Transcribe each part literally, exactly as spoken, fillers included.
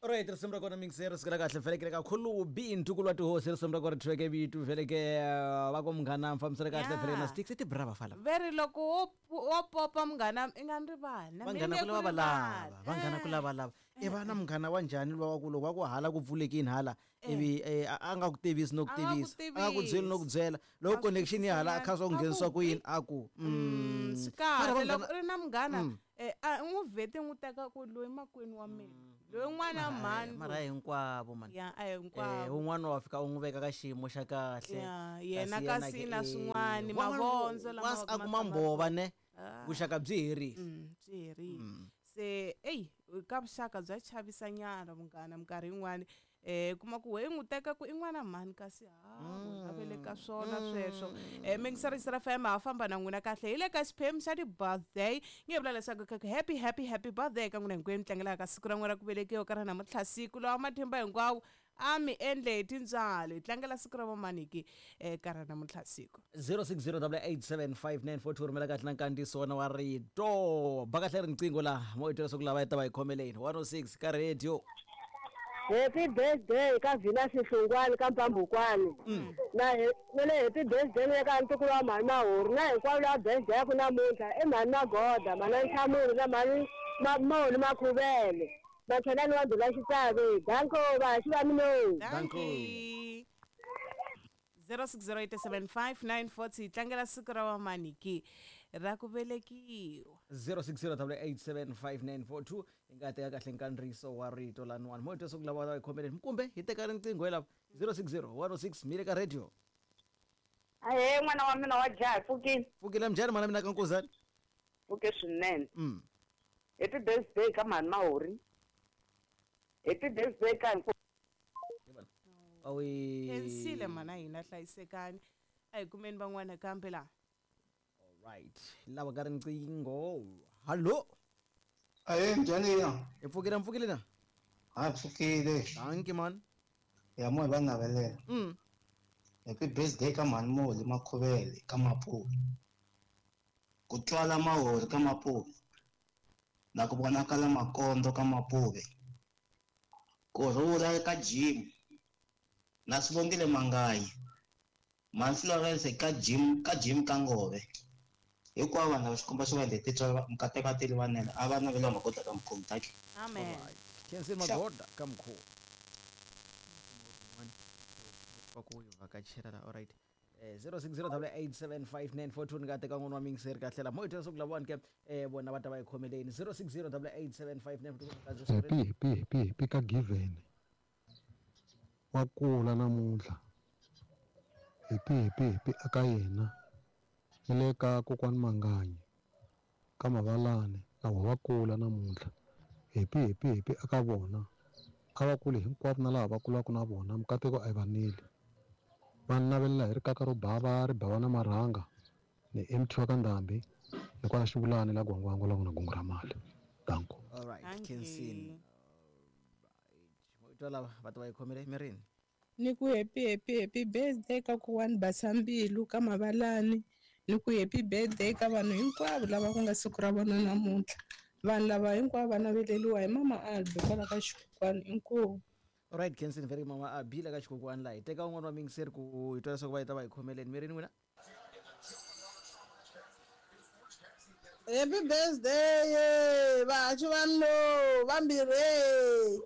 Alright, risimu ra kona mingiseri sikela kahle vhelekele kakhulu bi ntukulu wa tihosi risimu ra kona treke bitu vheleke va ku munghana mfambiselo kahle Yeah. vheleke na sticks i tibrava fala Veri loko wo wo popa munghana i nga ni rivali na mina vanghana ni ku nge lava ku va lava rivali. vanghana ku lava lava i va na munghana wa njhani luwa wa ku loko wa ku hala ku pfulekini hala ivi eh, a a nga ku tivisi no ku A nga ku tivisa a nga ku byeli no ku byela loko A connection ya hala a kha swa ku a ku nghenisiwa ku yini a ku Mm, swi Mara kahle vanghana- loko u ri na munghana eh, a u n'wi vhete n'wi teka ku loyi makwenu wa mina loyi n'wana mhani mara hinkwavo man ya a hi eh hinkwavo un'wana wa fika u n'wi veka ka xiyimo xa kahle Ya, yena kasi na ke, eh, swin'wani, wan'wana mavondzo lama once va a ma kuma kha ma- mbhova ne vuxaka byi herile Mm, byi herile se eyi ka vuxaka bya chavisa nyana munghana minkarhi yin'wani um kuma ku we i n'wi teka ku i n'wana mhani kasi ha a ve le ka swona sweswo um mingisarisa F M ha famba na n'wina kahle hi le ka xiphemu xa ti-birthday nge vula leswaku ka ku happy happy happy birthday ka n'wina hinkwenu mi tlangelaka siku ra n'wina ra ku velekiwa ka ra namuntlha siku lawa matimba hinkwawo a mi endle hi tintswalo hi tlangela siku ra vamaniki um ka ra namuntlha siku zero six zero eight seven five nine four two rhumela kahle na nkandziyiso wona wa rito ba kahle riqingho laha mo i twa leswaku lava yi ta va hi khomeleni one oh six ka radio. Happy birthday ka Vina Sihlungwani ka Mpambukwani na he- na le happy birthday na ka ntukulu wa mhani Mahuru na hinkwavo lava birthday ya ku namuntlha i mhani Magoda, mhani Nhlamulo na mhani Mamoli Makhuvele Machelani wa Ndhula Xitsavi. Danko vahaxi va mino. Dankie. zero six zero eight seven five nine four hi tlangela siku ra vamaniki ra ku velekiwa. zero six zero eight seven five nine four two hi nga teka kahle nkandziyiso wa rito laniwani mo hi twa leswaku lava va hi khomeleni kumbe hi teka riqingho hi lava zero six zero one oh six mi le ka radio. Ahee, n'wana wa mina wa jaha, pfukile. Pfukile, njhani mana mina ka nkuzani? Pfuke swinene. Mm. Happy birthday ka mhani Mahori, happy birthday ka hinkwavu. Awi. Khensile mana hina, hlayisekani, a hi kumeni van'wana kambe laha. Alright, lava ka riqingho, hallo. Ahee, njhani ya? Hi pfukile, mpfukile na? Ha pfukile. Dankie man. Ya mo hi va navelela. Mm. Happy birthday ka mhani Moli Makhuvele ka Mapuve. Ku twala Mahori ka Mapuve. Na ku vonakala Makondo ka Mapuve. Ku rhula ka Jim. Na Sibongile Mangayi. Mhani Florence ka Jim ka Jim ka Ngove. Hinkwavo vanhu lava xikomba xo va endle titswalo mikateko a teli vanene a va naveliwa magoda ka mukhomi taki. Amen. Khensi magoda ka mukhuva va ku yi vhakachela la. Alright, eh zero six zero eight seven five nine four two ni nga teka n'wana wa mingiseri kahle la mo hi twa leswaku lavawani ke eh vona va ta va hi khomeleni zero six zero eight seven five nine four two. Happy happy happy happy ka Given wa kula namuntlha, happy happy happy aka yena ni le ka kokwani Manganyi ka Mavalani na vona va kula namuntlha, happy happy happy aka vona, a va kuli hinkwavo na laha va kulaka na vona mikateko a yi va neli va navelela hi rikaka ro bava ri bava na marhanga ni M T wa ka Ndhambi ni kwala xivulani la gwangwangwa la ku na gungu ra mali, danko. Alright. Dankie. Khensin mo hi twa lava va ta va hi khomele mirini. Ni ku happy happy happy birthday ka kokwani Basambilu ka Mavalani, ni ku happy birthday ka vanhu hinkwavo lava ku nga siku ra vona namuntlha, vanhu lava hinkwavo va naveleliwa hi mama Albi kwala ka xikokwani, inkomu. Alright, Khensin very mama a bila ka xikokwani laha hi teka un'wana wa mingiseri ku hi twa leswaku va yi ta va hi khomeleni mirini n'wina. Happy birthday vahaxi va mino vambirhi,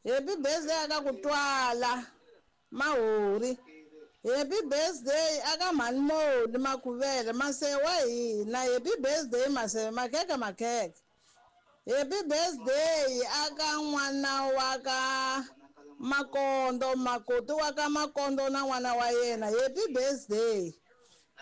happy birthday aka ku twala Mahori, happy birthday aka mhani Moli Makhuvele maseve wa hina, happy birthday maseve makhekhe makhekhe, happy birthday aka n'wana wa ka Makondo, makoti wa ka Makondo na n'wana wa yena, happy birthday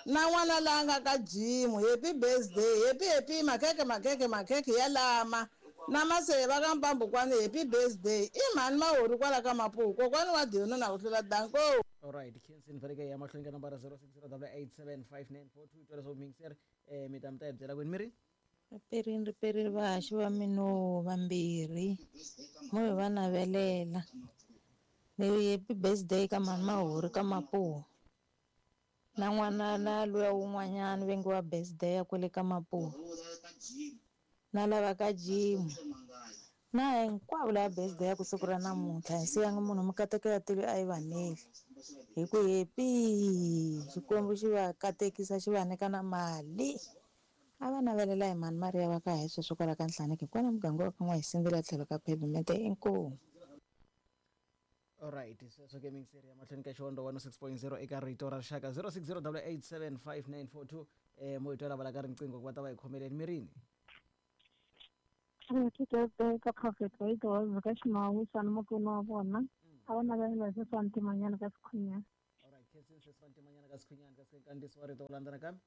na n'wana la nga ka jimu, happy birthday, happy happy makhekhe makhekhe makhekhe ya lama na maseve ka Mpambukwani, happy birthday i mhani Mahori kwala ka Mapuku kokwani wa Dino na ku hlula, danko. Alright, Khensin faneke ya mahlweni ka nambara zero six zero eight seven five nine four two twa leswaku mingiseri eh mi ta mi ta hi byela kwini mirini. Riperini riperini vahaxi va mino vambirhi mo hi va navelela ni happy birthday ka mhani Mahori ka Mapuwa na n'wana na luya wun'wanyana ve nge wa birthday ya kwale ka Mapuwa na lava ka jimu Na hinkwavo lava birthday ya ku siku ra namuntlha hi siyanga munhu mikateko ya tilo a yi vaneli hi ku happy Xikwembu xi va katekisa xi va nyika na mali a va navelela hi mhani Maria va ka hi sweswo kwala ka Nhlaneki kwala muganga wa ka N'wahisindzela tlhelo ka pavement inkomu. Alright, sweswo ke mingiseri ya mahlweni ka Xihondzo one oh six point zero eka Rito ra Rixaka zero six zero double eight seven five nine four two eh mo hi twa lava la ka riqingho ku va ta va hi khomeleni mirini. Happy birthday ka Prophet Wade ka Ximawisa ni mupfuni wa vona. A va navelela sweswi Ntimanyana ka Sikhunyana. Alright, khensini sweswi Ntimanyana ka Sikhunyana ka Kandiso wa rito wu landza nakambe.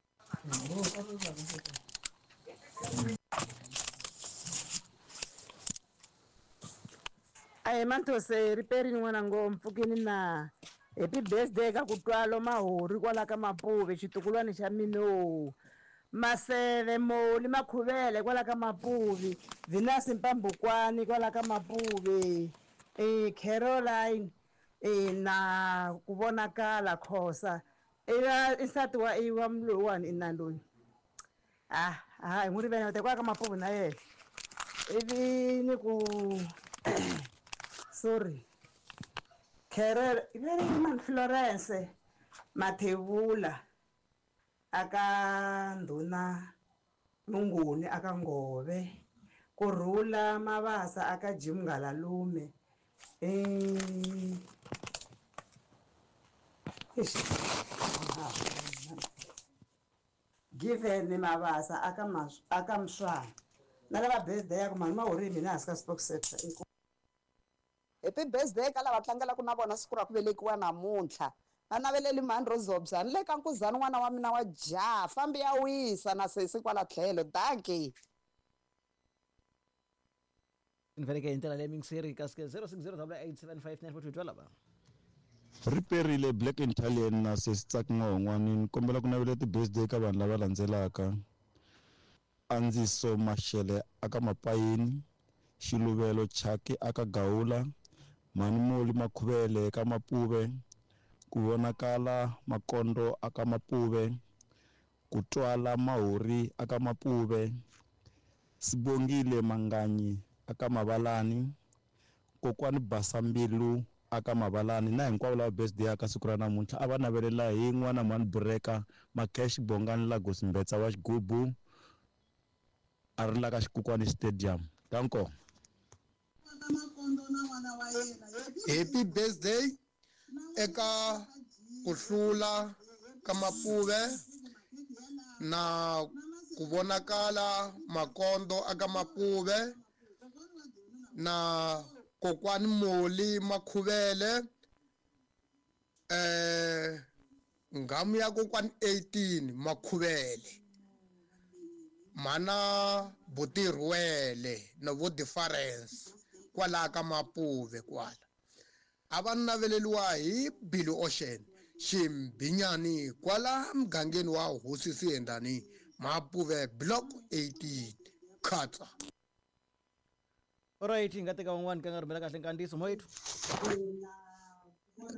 Aye Manthose riperini n'wana ngompfukini na happy birthday ka ku twalo mahori kwala ka Mapuve xitukulwana xa mino Maseve Moli Makhuvele kwala ka Mapuve Venus Mpambukwani kwala ka Mapuve eh Caroline eh na ku vonakala Khosa ila insati wa iwa mlowani inaloyi ah ah hi n'wi rivele kwala ka Mapuve na yena ivi ni ku sorry Carol very man Florence Mathebula aka ndhuna Munguni aka Ngove Kurhula Mabasa aka Jim Ngalalume eh Given Mabasa aka mas aka Mswana na lava birthday ya ku mani mahori mina hansi ka spokesector. Happy birthday ka lava tlangelaka na vona siku ra ku velekiwa namuntlha. Va naveleli mhani Rozobya ni le ka nkuzani n'wana wa mina wa jaha fambi ya wisa na sesi kwala tlhelo dankie. Ni veleke hi ndlela leyi mingiseri kasi zero six zero double eight seven five nine four two twa lava. Riperile Black Italian na sesi Tsaki N'wahon'wani ni kombela ku navelela ti-birthday ka vanhu lava landzelaka. Andziso Mashele aka Mapayini, Xiluvelo Chaki aka Gawula, Mhani Moli Makhuvele ka Mapuve, ku vonakala Makondo aka Mapuve, ku twala Mahori aka Mapuve, Sibongile Manganyi aka Mavalani, Kokwani Basambilu aka Mavalani na hinkwavo lava birthday aka siku ra namuntlha a va navelela hi n'wana mhani Bureka Makesh Bongani Lagos Mbetsa wa Xigubu a ri la ka Xikukwani Stadium. Danko. Happy birthday eka ku hlula ka Mapuve na ku vonakala Makondo aka Mapuve na Kokwani Moli Makhuvele eh ngamu ya Kokwani eighteen Makhuvele mana Butirwele na vo difference kwala ka Mapuve kwala a va naveleliwa hi Billy Ocean Ximbinyani kwala mugangeni wa Hosi Siyendani Mapuve block eighteen khatsa. Alright, hi nga teka van'wani ka nga rhumela kahle nkandziyiso moyethu.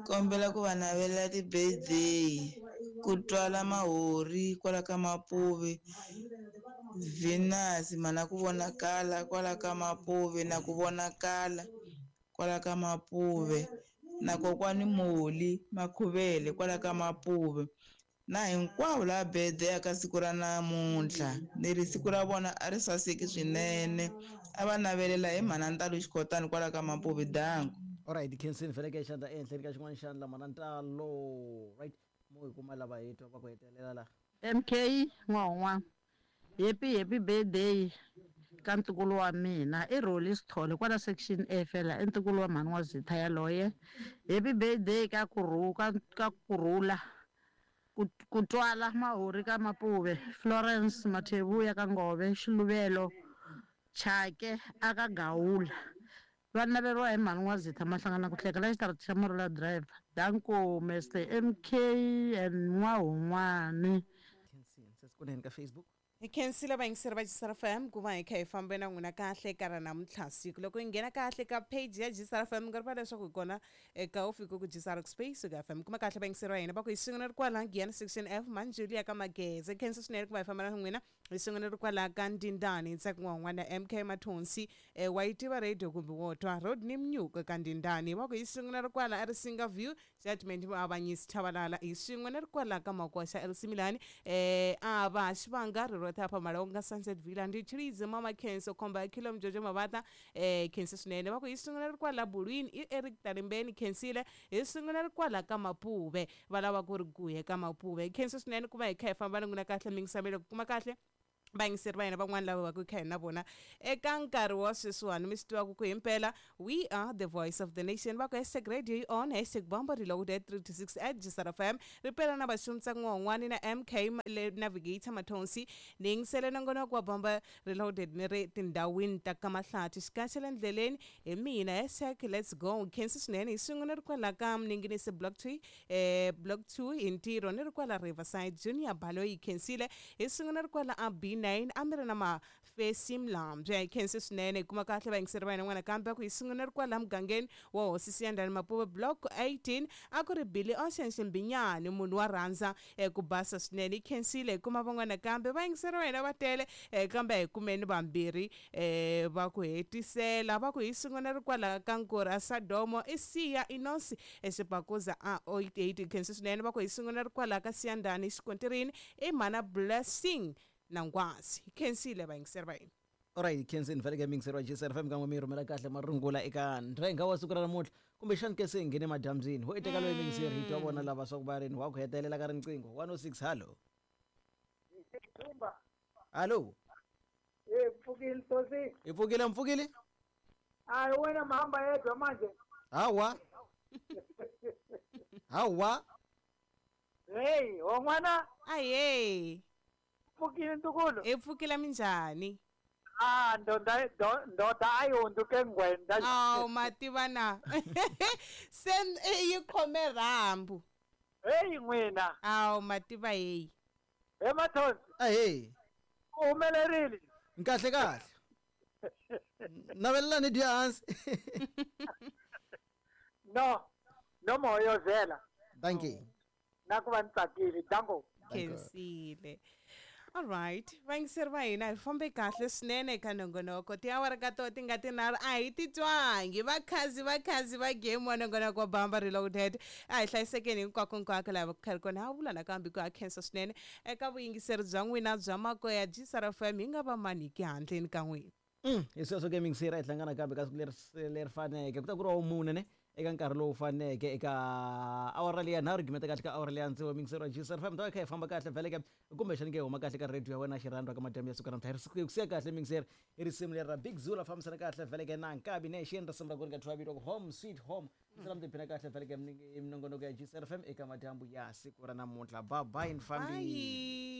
Kombela ku va navelela ti-birthday ku twala Mahori kwala ka Mapuve Venus mana ku vonakala kwala ka Mapuve na ku vonakala kwala ka Mapuve na Kokwani Moli Makhuvele kwala ka Mapuve na hinkwavo lava birthday ka siku ra namuntlha ni ri siku ra vona a ri saseki swinene a va navelela hi mhana Ntalo Xikotani kwala ka Mapuve danko. Alright, khensini veleke xandla ehenhleni ka xin'wana xandla mhana Ntalo. Right, mo hi kuma lava hi twa va ku hetelela la. M K N'wahon'wana happy happy birthday ka ntukulu wa mina i Roli Sithole kwala section A fela i ntukulu wa mhani wa Zitha yaloye. Happy birthday ka kurhu ka ka kurhula ku twala Mahori ka Mapuve Florence Mathebuya ka Ngove Xiluvelo Chake aka Gawula va naveriwa hi mhani wa Zitha Mahlangana ku hleka la xitarata xa Marula Driver. Danko Mister M K and N'wahon'wani. Kunene ka Facebook. Hi khensile vayingiseri va G S R F M ku va hi kha hi fambe na n'wina kahle ka ra namuntlha siku loko hi nghena kahle ka page ya G S R F M nga rivala leswaku hi kona eka u fike ku G S R Space ka F M kuma kahle vayingiseri va hina va ku hi sungula ri kwala Giyani section F Manjulia ka Mageze. Khensa swinene ku va hi famba na n'wina Hi swin'wana ri kwala ka Ndindani Ntsako n'wana M K Mathonsi eh, wa yi tiva radio kumbe wo twa Rodney Mnyuka ka Ndindani va ku hi swin'wana ri kwala a ri Singa View Judgment Muavanyisi Chabalala hi swin'wana ri kwala ka Makwasha L C Milani eh a va Xivanga ri rota pa Malonga Sunset Villa ndi Chilize Mama Kenso Komba Kilo Mjojo Mabata eh Kenso swinene va ku hi swin'wana ri kwala Bulwini i Eric Tarimbeni Kensile hi swin'wana ri kwala ka Mapuve va lava ku ri guye ka Mapuve Kenso swinene ku va hi kha hi famba ni n'wina kahle mingisamelo ku kuma kahle vayingiseri va hina van'wana lava va ku kha hi na vona eka nkarhi wa sweswiwani mi swi tivaka ku himpela we are the voice of the nation va ku hashtag radio yi on hashtag bombo reloaded three to six at G S R F M ri pela na Vaxumtsa n'wan'wani na M K le navigator Mathonsi ni yingisele nongonoko wa bomba reloaded ni ri tindhawini ta ka Mahlathi xikaxela ndleleni hi mina hashtag let's go khensi swinene hi swin'we ni ri kwala ka Mninginisi block two eh block two hi ntirho ni ri kwala Riverside Junior Baloyi khensile hi swin'we ni ri kwala a B nine a mi ri na Mafesi Mlambye khensi swinene hi kuma kahle vayingiseri va hina n'wana kambe ku hi swin'we ri kwala mugangeni wa hosi Siyandhani Mapuve block eighteen a ku ri Billy Ocean Ximbinyani munhu wa rhandza eh, ku basa swinene hi khensile hi kuma van'wana kambe vayingiseri va hina va tele eh, kambe hi kumeni vambirhi eh, va ku hetisela va ku hi swin'we ri kwala ka Nkura Sadomo i Siya Inosi exibakuza a eight khensi swinene va ku hi swin'we ri kwala ka Siyandhani xikontirini i Mana Blessing na Ngwazi hi khensile vayingiseri va hina. Alright, khensini vhele ka mingiseri wa G S R F M kan'we mi rhumela kahle marungula eka ndrenga wa siku ra namuntlha kumbexani ke se hi nghene madyambyini ho iteka loyi mingiseri hi twa vona lava swa ku va rini wa ku hetelela ka riqingho one oh six hallo hallo Eh pfukile Ntosi. Hi pfukile mpfukile Hayi wena mahamba yedwa manje. Hawa hawa Hey, won'wana aye pfukile ntukulu. Hi pfukile minjhani? Ah, ndonda ndoda a yi hundzuke ngwenda. Awu mativa na se yi khome rhambu. Hey n'wina. Awu mativa heyi. He Mathonsi. Ahee. U humelerile. Kahle kahle. Navelelani dya hansi. No, no moyozela. Thank you. Na ku va ni tsakile, danko. Khensile. All right, vayingiseri va hina hi fambe kahle swinene eka nongonoko tiawara ka toho ti nga tinharhu a hi titwangi vakhazi vakhazi va game wa nongonoko wa Bamba Reloaded a hi hlayisekeni hinkwako hinkwako laha va ku kha ri kona ha vula nakambe ku ha khensa swinene eka vuyingiseri bya n'wina bya makoya G S R F M hi nga va maniki handleni ka n'wina. Mm, hi sweswo ke mingiseri a hi hlangana kambe ka siku leri leri faneke ku ta ku ri wa vumune ne eka nkarhi lowu faneke eka awara leya nharhu gimeta kahle ka awara leya ntsevu mingiseri wa G S R F M ta va kha hi famba kahle vhele ke kumbexani ke hi huma kahle ka radio ya wena xirhandwa ka madyambu ya siku ra namuntlha hi ku siya kahle mingiseri i risimu leri ra Big Zulu fambisana kahle vhele ke na Nkabi Nation risimu ra ku ri nga thyiwa vito Home Sweet Home mi tiphina kahle vhele ke minongonoko ya G S R F M eka madyambu ya siku ra namuntlha. Bye bye ni fambile.